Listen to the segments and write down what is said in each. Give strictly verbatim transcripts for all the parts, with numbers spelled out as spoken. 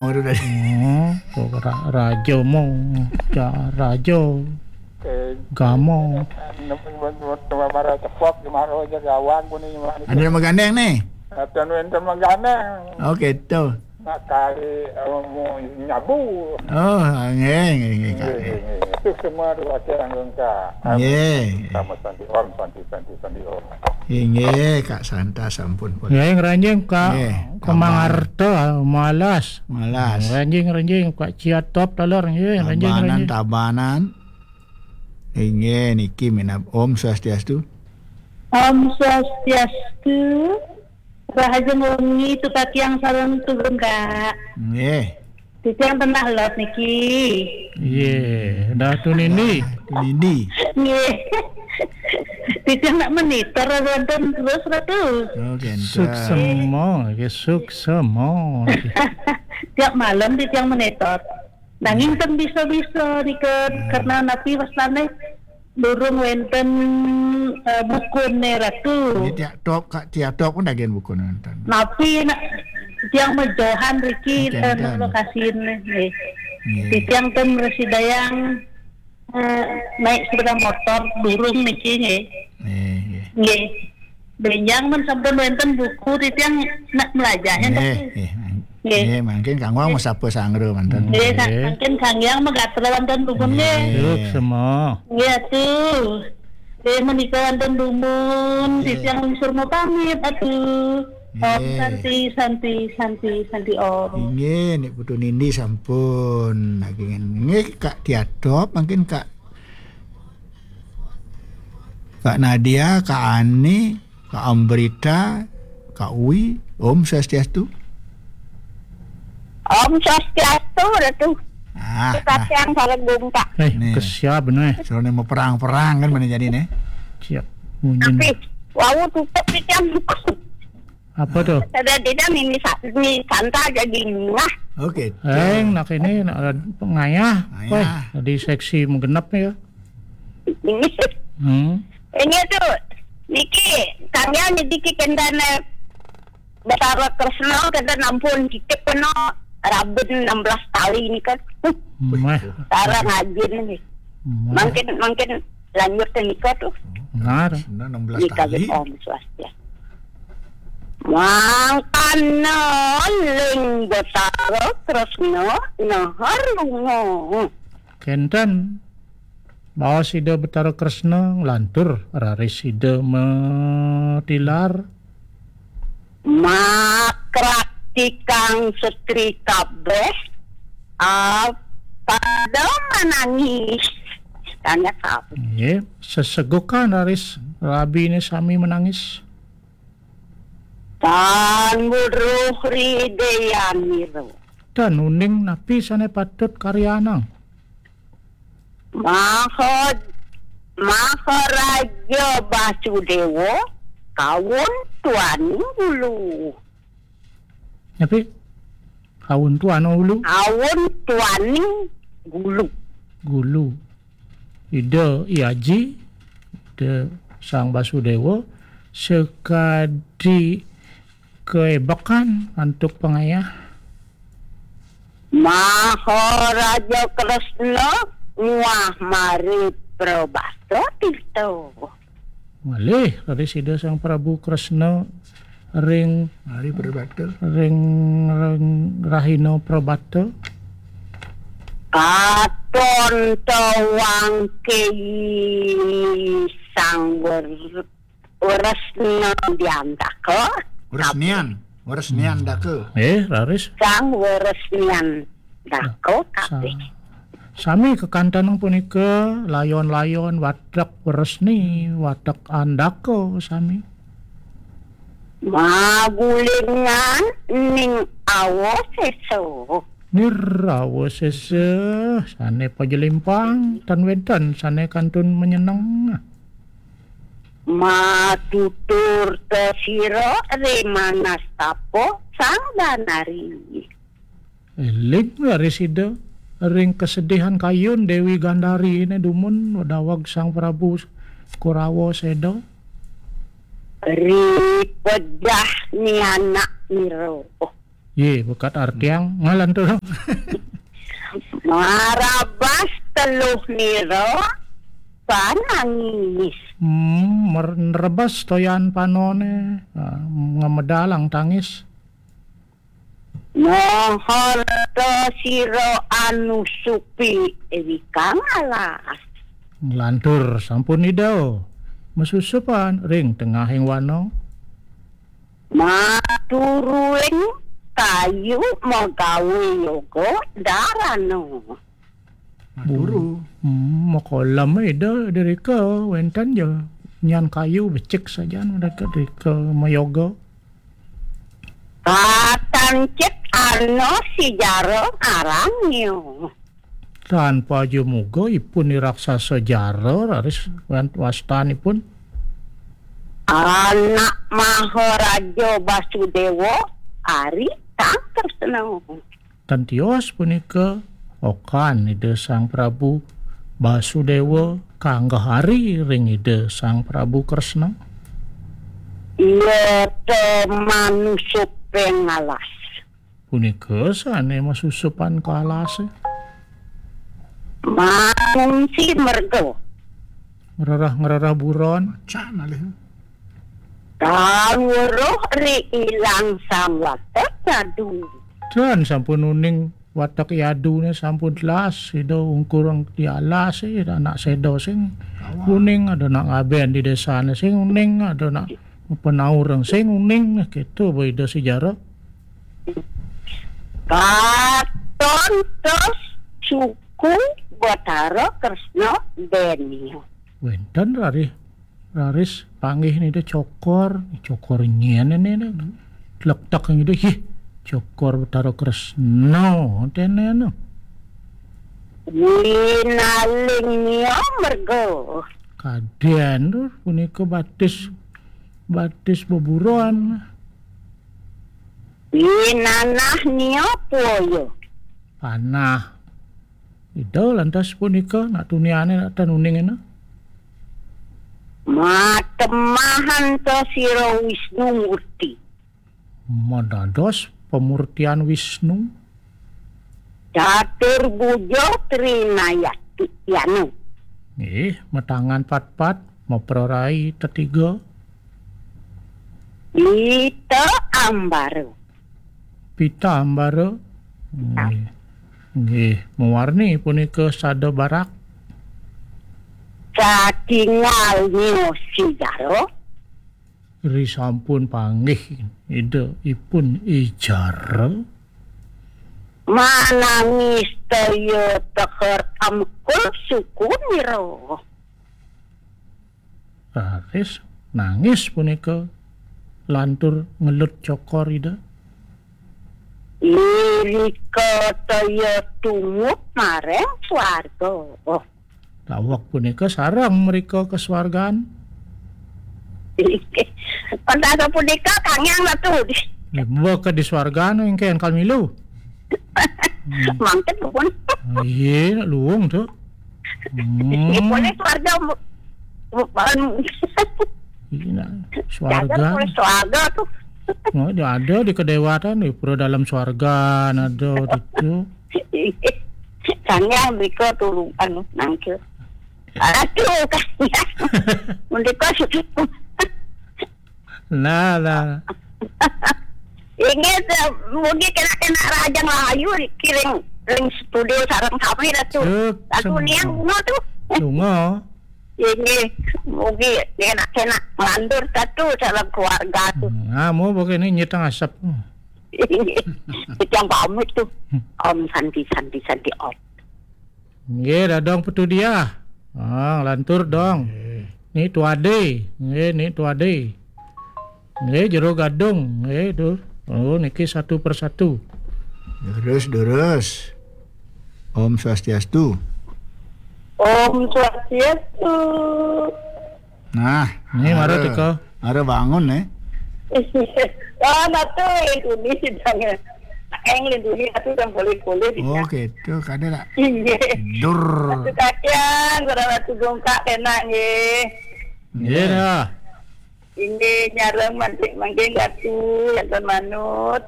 Baru tadi. Hmm, kok ra-, raja mau, ja-, raja. Eh, gamo. Marah cepok, marah aja gawang ku nih, marah. Ada yang magandeng nih? Ada yang magandeng. Oke, tuh. Nak kali, eh, mau nyabu. Oh, nggih, nggih, nggih, Kak. Nggih, nggih, nggih. Itu semua ruwete anggo Kak. Nggih. Sama santi om, santi, santi, santi om. Inggih, Kak Santa sampun pun. Nggih, ngranjing Kak. Nggih, Kemang Abang. Arta, malas. Malas. Ngranjing, ngranjing Kak Ciatop taler, nggih, ngranjing, Tabanan, ngranjing. Tabanan. Inggih, niki minab Om Swastiastu. Om Swastiastu. Rahajeng wengi tu Kak Tiang sareng tugun, Kak. Nggih. Titiang tenah lot niki. Iya, dah tu Nindi. Nindi. Nggih. Titiang nak monitor wonten terus, Ratu. Oh, genten. Suksema, ya, suksema. Tiap malam titiang monitor. Nanging ten bisa-bisa nika, karena napi wastane durung wenten, eh, bukune, Ratu. Ini tiap top, Kak, tiap top pun dagen bukune wenten. Napi nak tiang mejohan riki, eh, genten. Lokasine, nggih. Nggih. Titiang ten mresidayang, eh, naik sepeda motor durung niki, nggih. Nggih, nggih. Nggih. Benjang men sampun wenten buku titiang nak melajahnya, nggih, Ratu. Nggih. Nggih, mangkin Kang Wang mesapa sangra manten. Nggih, sa-, nggih. Mangkin Kang Yang megatel wonten dumun, nggih. Nggih. Suksema. Nggih, Ratu. Nggih, menika wonten dumun, nggih. Titiang lingsir mau pamit, Ratu. Om nggih. Santi, Santi, Santi, Santi Om. Inggih, Nik Putu Nindi sampun. Lagi nggih, Kak Tiatop, mangkin Kak, Kak Nadia, Kak Ani, Kak Ambrita, Kak Uwi, Om Swastiastu. Om Swastiastu, Ratu. Ah, Kita nah. Tiang sareng gumpa. Eh, nih. Kesiap bener. Soalnya mau perang-perang kan mana jadi nih? Siap. Munyin. Tapi, wau tutup di tiang. Apa tuh? Ada tidak ini sa-, ini santa jadi murah. Oke. Eh, nak ini, nak ada pengayah. Ngayah. Weh, jadi seksi menggenap ya. Ini. Hmm. Ini tuh, niki, kami ini dikit kendane Betara Kresna, kenten ampun, cicip kena raben enam belas tali ini kan. Meh. Cara ngajin ini. Meh. Mangkin, mangkin lanjut ke nikah tuh. Benar. Sudah enam belas nikah tali. Om Swastiastu. Mangkana ling Betara Kresna nahar lunga. Kenten. Baos Ida Betara Kresna nglantur, raris Ida matilar. Makrak tikang setri kabeh, ah, pada menangis. Tanya kau. Nggih, sesegukan raris rabine sami menangis. Tan weruh rideyanira. Dan uning napi sane patut karyanang? Maha-, Maharaja Basudewa, kawun tuaning gulu. Napi? Kawun tuana ulu? Kawun tuaning gulu. Gulu. Ida I Aji, Ida Sang Basudewa, sekadi keebekan antuk pangayah. Maharaja Kresna muah Mari Prabasa Tirta. Malih, raris Ida Sang Prabu Kresna ring Mari Prabata. Ring, ring Rahina Prabata. Katon tawang keyi Sang Wer-, Wresna Diantaka. Wresnian, Wresnian Daka. Eh, raris. Sang Wresnian Daka. Sa-, kabeh. Sami kekantenang punika layon-layon watek Wresni, watek Andaka sami. Magulingan ning awasesa. Nirawasesa, sane pajelimpang, tan wenten sane kantun menyeneng. Matutur tesira ri manastapa Sang Danari. Eling raris Ida ring kesedihan kayun Dewi Gandari ne dumun daweg Sang Prabu Kurawa Seda. Ri pejah nianak nira. Oh. Ye, bekat artiang ngalantur. Marabas teluh nira panangis. Hmm, mer-, nerebes toyan panone, ah, ngamedalang tangis. Moho ta sira anusupi ewikang alas. Nglantur sampun Ida masusupan ring tengahing wana. Maturuing kayu magawe yoga darana. Maturu. Hmm, makolam Ida dirika wenten ja nyan kayu becik sajan mereka dirika mayoga. Katancit ana sijara arannya. Tanpa aja muga ipun ni raksasa jara raris wan-, wastanipun. Anak Maharaja Basudewa ari kang tresna. Tan tios punika okan Ida Sang Prabu Basudewa kanggeh ari ring Ida Sang Prabu Kresna. Iya te manusup ing alas. Punika sane masusupan ka alase. Mangungsi merga. Ngrereh-ngrereh buron. Pacak malih. Kang weruh ri ilang sang watek nyadu. Dan sampun uning watek yadune sampun telas, Ida ungkur di alas, Ida anak seda sing uning, ada nak ngaben di desane sing uning, ada nak penaureng sing uning, gitu, Ida sejarah. Katon tos suku Batara Kresna Denia. Wenten rarih, raris panggih nida cokor, cokor nyen ne, ne. Tlektek nida, "Ih, cokor Batara Kresna," tene, ne. Winaling nia merga. Kaden tur punika batis, batis beburon. Winanah nia poyo. Panah. Ida lantas punika nak tuniane nak tan uning ena. Matemahan ta sira Wisnu Murti. Madados pemurtian Wisnu. Catur bujo trinayati yanu. Nggih, matangan patpat, maprarai tetiga. Pita ambara. Pita ambara. Nggih. Nggih, mawarni punika sada barak. Satingal nyosi jaro. Ri sampun panggih Ida ipun ijara. Manangis toya teher amkul suku nira. Raris nangis punika lantur ngelut cokor Ida. Irika toya tumut mareng swarga. Oh. Daweg punika sareng mrika ka swargan. Pendasa punika kangyang Ratu. Nggih, mbok di swargan engke engkal milu. Hmm. Mangket pun. Iya, luwung tuh. Hmm. Boleh swarga, bu-, bu-, ban-, Iya, jajan swarga. Boleh swarga tuh. Oh, dia ada di kedewatan, di pura dalam swarga, ada itu. Kangyang mrika turu, anu, nangkil. Aduh, kangyang. Mendika sudah. Nah, nah. Inggih, te-, mugi kena-kena Raja Melayu kiring ring studio sareng sami, Ratu. Cuk, Ratu sem-, niang ngono tuh. Lunga. Inggih, mugi kena-kena nglantur Ratu sareng keluarga tuh. Hmm, amo pokoknya nyeteng asap. Inggih. Titiang pamit tuh. Hmm. Om Santi, Santi, Santi, Om. Nggih, dadong Petu Diah. Ah, lantur dong. Nggih. Ni Tuade. Nggih, ni Tuade. Nggih, Jero Gadung. Nggih, tuh. Oh, niki satu persatu. Durus, durus. Om Swastiastu. Om Swastiastu. Nah, ini mara, mara teka. Mara bangun, eh. Wah, natu linduni sidang. Eng linduni natu yang boleh-boleh. Oh, gitu. Kada tak? Iya. Dur. Natu kakian, kurang natu gongkak, enak, nggih. Iya, dah. Inggih, nyareng mantik mangkin Ratu, wonten manut.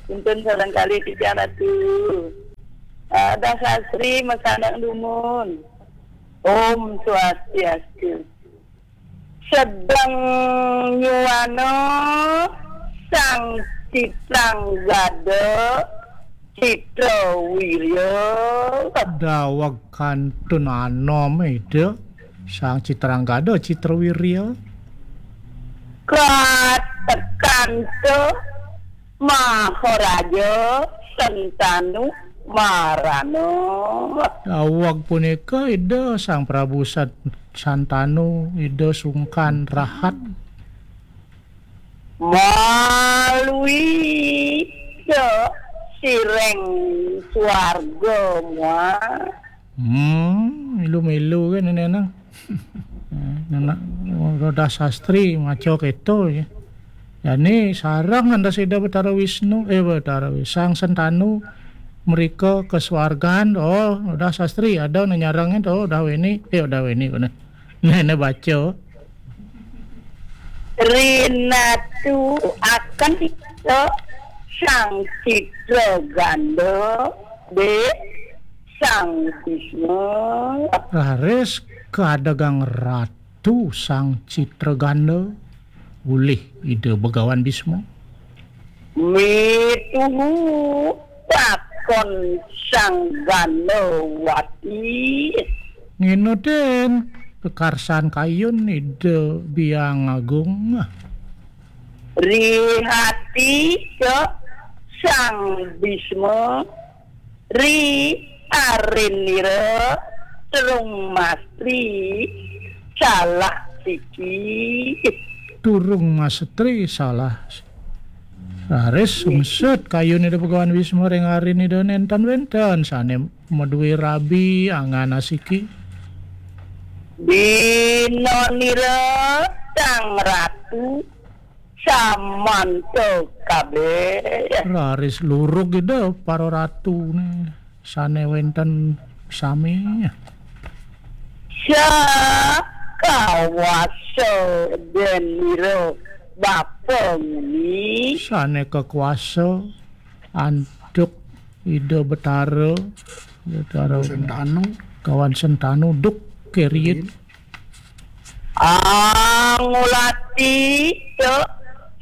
Tuntun sareng kalih titiang Ratu. Adah sastri masandak dumun. Om Swastiastu. Sedeng nyuana Sang Citrang Gada Citra Wirya. Daweg kantun anom Ida Sang Citrang Gada Citra Wirya. Katekanta Maharaja Sentanu Marana. Daweg punika Ida Sang Prabu Sat-, Santanu, Ida sungkan rahat. Malui ke sireng swarga mua. Hmm, milu-milu kan ini nang. Anak roda sastri maca keto ya. Jani sareng andas Ida Betara Wisnu, eh, Betara Wis-, Sang Sentanu mereka ke swargan. Oh, udah sastri ada nu nyarengin tuh, udah weni, eh, udah weni, bener. Nah, ini baca. Rinatu akan kita Sang Citra Ganda, dek Sang Bisma. Raris kadegang Ratu Sang Citra Ganda, ulih Ida Begawan Bisma. Mituhu pakon Sang Gandawati. Nginutin kekarsan kayun Ida Biang Agung. Rihati ke Sang Bisma, ri arinira, terung mastri salah siki. Turung mastri salah. Raris sungsut kayun Ida Begawan Bisma ring arin Ida nenten wenten sane madue rabi angan asiki. Binonira Sang Ratu samanta kabeh. Raris lurug Ida para ratune sane wenten sami. Sakawasa denira bapa nguni. Sane kakuasa antuk Ida Betara, Betara Sentanu. Kawan Sentanu duk keriit. Angulati te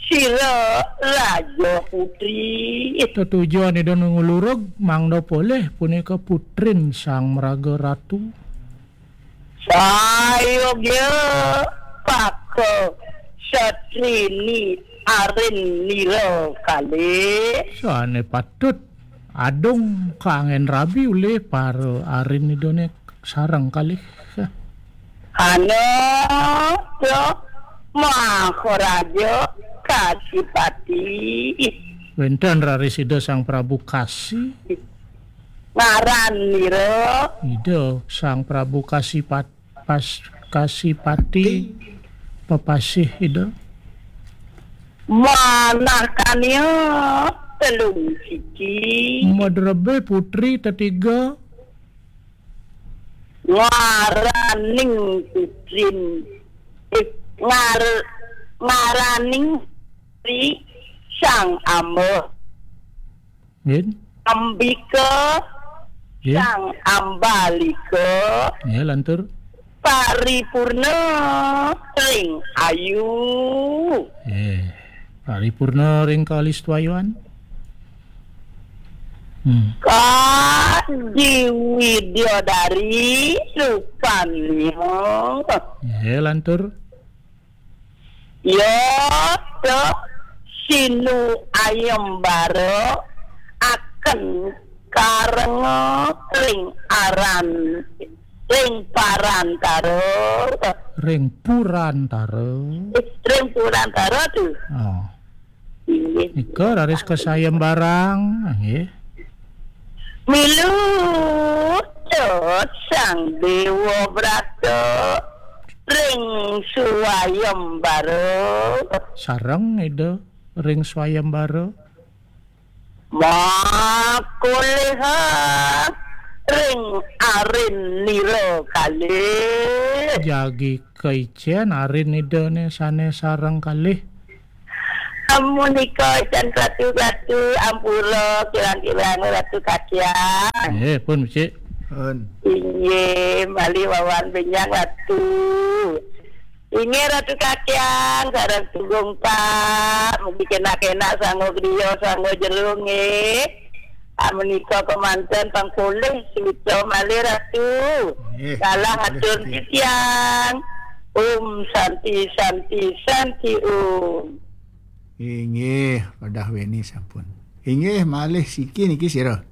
sira Raja Putri. Tetujon Ida ngulurug mangda polih punika putrin Sang Mraga Ratu. Sayogya paka satrini arin nira kalih. Sane patut adung kanggen rabi ulih para arin Idane sareng kalih. Ana Maharaja Kasipati. Wenten raris Ida Sang Prabu Kasi. Ngaran nira. Ida Sang Prabu Kasipat-, pas-, Kasipati. Pepasih Ida. Manah kania telung siki. Madrebih putri tetiga. Ngaraning putrin, eh, ngar-, ngaraning putri Sang Amba. Nggih. Ambika, nggih. Sang Ambalika. Nggih, lantur. Paripurna ring ayu. Nggih. Paripurna ring kalistuayuan. Hmm. Kadi Widyadari rupanya. Nggih, lantur. Ya, te sinu ayembara akan karenga ring aran, ring parantara. Ring purantara. Eh, ring purantara tu. Oh. Inggih. Nika raris kasayembarang, nggih. Milu Sang Dewa Brata ring swayembara. Sareng Ida ring swayembara. Makuliha ring arin nira kalih. Jagi kaicen arin Idane sane sareng kalih. Amunika, can Ratu, Ratu, ampura, kirang-kirang Ratu Kakyang. Nggih, pun, becik. Pun. Inggih, malih wawan benjang Ratu. Inggih, Ratu Kakyang, sareng Tugungkak, mugi kenak-kenak sangga griya, sangga jero, nggih. Amenika kemanten pang polih, suwita malih Ratu. Nggih, kalah polih atur nggih. Titiang. Om Santi, Santi, Santi Om. Inggih, padah weni sampun. Inggih, malih siki niki sira.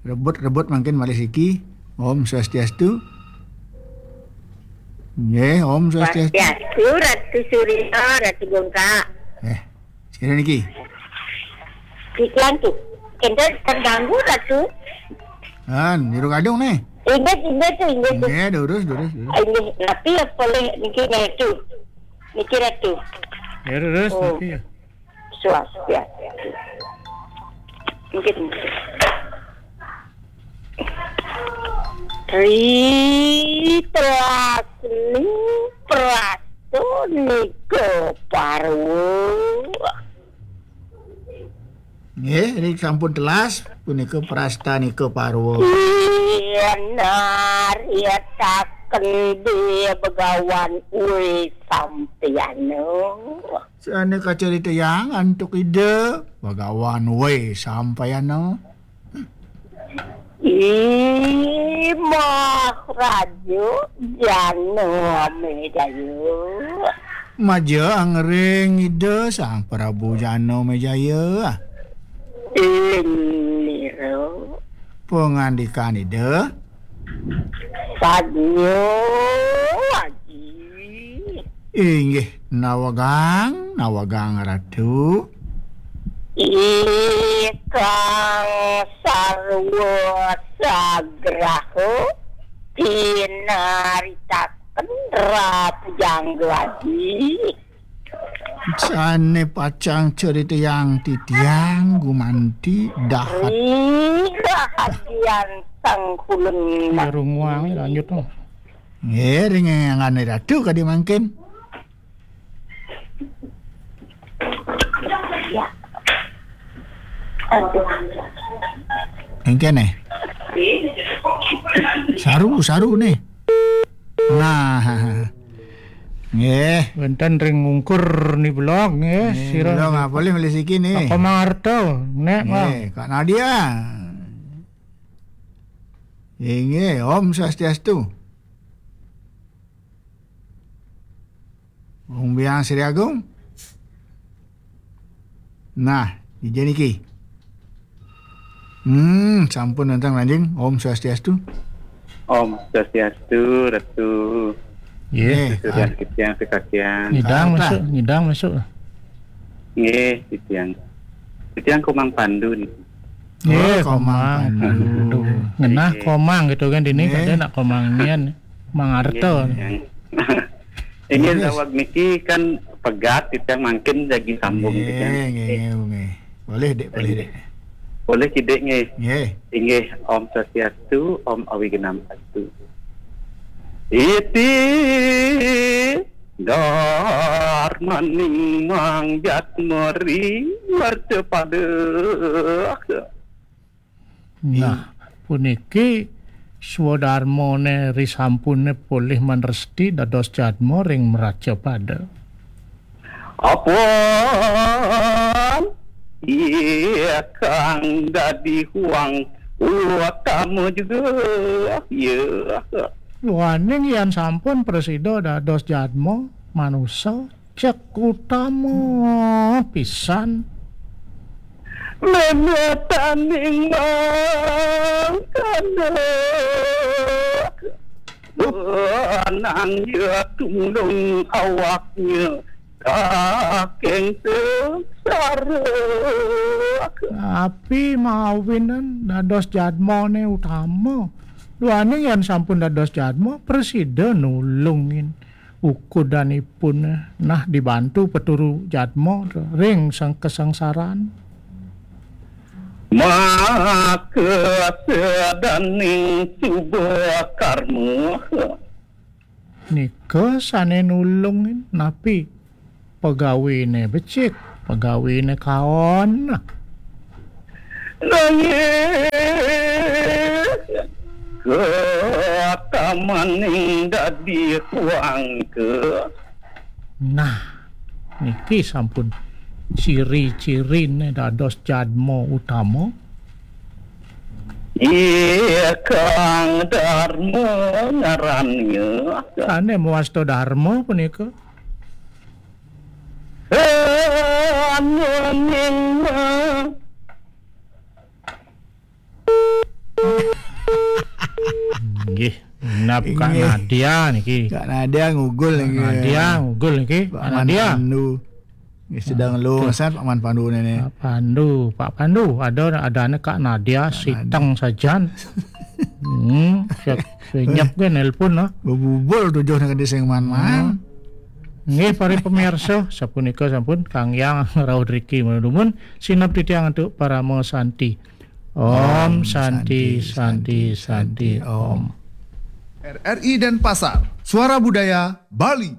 Rebut-rebut mangkin malih siki. Om Swastiastu. Nggih, Om Swastiastu. Swastiastu, Ratu Surya, Ratu Gongka. Eh, sira niki. Titiang tu. Kenten terganggu, Ratu. Han, jero gadung nih. Inggih, inggih tu, inggih tu. Nggih, durus, durus, durus. Inggih, napi ya polih niki, nggih tu. Niki Ratu. Ya, terus, oh. Tapi ya. Swastiastu. Niki, niki. Tri telasning prastanika parwa. Nggih, ring sampun telas punika prastanika parwa. Yen naritaken de Begawan Wé Sampayana. Sane kacaritayang antuk Ida Begawan Wé Sampayana. Ih, Maharaja Janamejaya. Majeng ring Ida Sang Prabu Janamejaya. Inira. Pangandikan Ida. Sadnya, Aji. Inggih, nawegang, nawegang Ratu. Ikang sarwa sagraha pinaritaken Ratu Jangga Aji. Sane pacang caritayang titiang gumanti dahat. Ih, rahadian sangkulen. Ya, runguang, lanjut, oh. Nggih, ring angane Ratu kadi mangkin. Ya. Aduh. Engkene. Saru, saru nih. Nah. Nggih. Wenten ring ungkur ni blog, nggih. Nggih, sira blog, nggih. Apa le meli siki nih? Kak Komang Arta, nek, nggih, Bang. Kak Nadia. Inggih, Om Swastiastu. Wong Biang Sri Agung. Nah, ija niki. Hmm, sampun nentang lanjing. Om Swastiastu. Om Swastiastu, Ratu. Nggih. Nggih, sudah ah. Titiang sekakian. Nyidang masuk, nyidang masuk. Nggih, titiang. Titiang Komang Pandu nih. Nggih, oh, Komang Komang Pandu. Pandu. Ngenah nggih. Komang gitu kan, dini nggih. Kadang nak Komang nian. Mang Arta. Nggih. Ini nggih. Sawag niki kan pegat, titiang mangkin jagi sambung nggih, titiang. Nggih, nggih, nggih. Boleh, Dek, boleh, Dek. Boleh, Ki, Dek, nggih. Nggih. Inggih, Om Swastiastu, Om Awignam Astu. Iti darmaning mangjatmeri mercapada. Nah, puniki swadarmane risampune polih manresti dados jadma ring mracapada. Apan iya kang dadi huang utama juga, ya. Duaning yen sampun prasida dados jadma manusa, cek utama pisan. Memetaning mangkana, nang ya tumulung awaknya saking sengsara. Napi mawinan dados jadmane utama? Duaning yen sampun dados jadma, prasida nulungin ukudanipun, nah, dibantu peturu jadma ring sang kasangsaran. Maka sedaning suba karma. Nika sane nulungin napi? Pegawine becik, pegawine kaon. Nanging ketamaning dadi tuangka. Nah, niki sampun ciri-cirine dados jadma utama. Ikang Darma ngarannya. Sane mawasta Darma punika. Nggih, nap Kak Inggih. Nadia niki. Kak Nadia ngugul Kak niki. Nadia ngugul niki. Pak Kak Man Nadia. Pandu. Nggih, sedang Aduh. Lu ngesan Pak Man Pandu nene. Pak Pandu, Pak Pandu, ada ada anak Kak Nadia, Kak Nadia. Siteng sajan. Hmm, siap senyap ke nelpon lah. Bebubul tujuh nak di sing man-man. Hmm. Nggih, para pemirsa, sapunika sampun Kang Yang rauh driki menudumun sinep titiang untuk parama santi. Om Santi, Santi, Santi, Om. R R I Denpasar, Suara Budaya Bali.